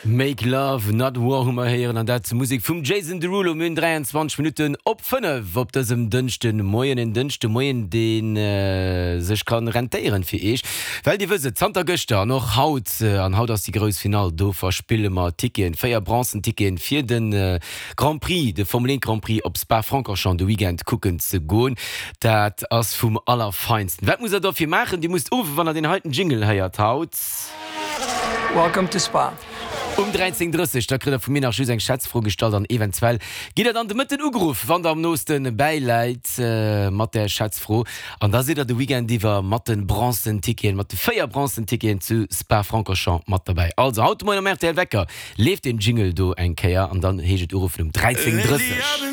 Make Love Not War hu mer héieren an dat zur Musek vum Jason Derulo. Mir hunn 23 Minutten op 5 op dësem Dënschdemoien. En Dënschdemoien, dee sech ka rentéieren fir Iech, well Dir wësst et, zanter gëschter an och haut, an haut ass déi grouss Finall, do verspille mer Ticketen, 4 Bronzen Ticketen fir de Grand Prix, de Formel 1 Grand Prix op Spa-Francorchamps de Weekend kucken ze goen. Dat ass vum Allerfeinsten. Wat musst Der dofir maachen? Dir musst uruffen, wann Der deen heiten Jingle héiert haut. Welcome to Spa. Um 13:30, da kritt der vu mir nach just eng Schätzfro gestallt an eventuell gitt der dann de Mëtten ugeruff, wann der am nooste bäiläit mat där Schätzfro. An da sidd der de Weekend iwwer mat de Bronzen Ticketen, mat de 4 Bronzen Ticketen zu Spa-Francorchamps mat derbäi. Also haut de Moien am rtl Wecker leeft deen Jingle do eng Kéier an dann heescht et uruffen um 13:30.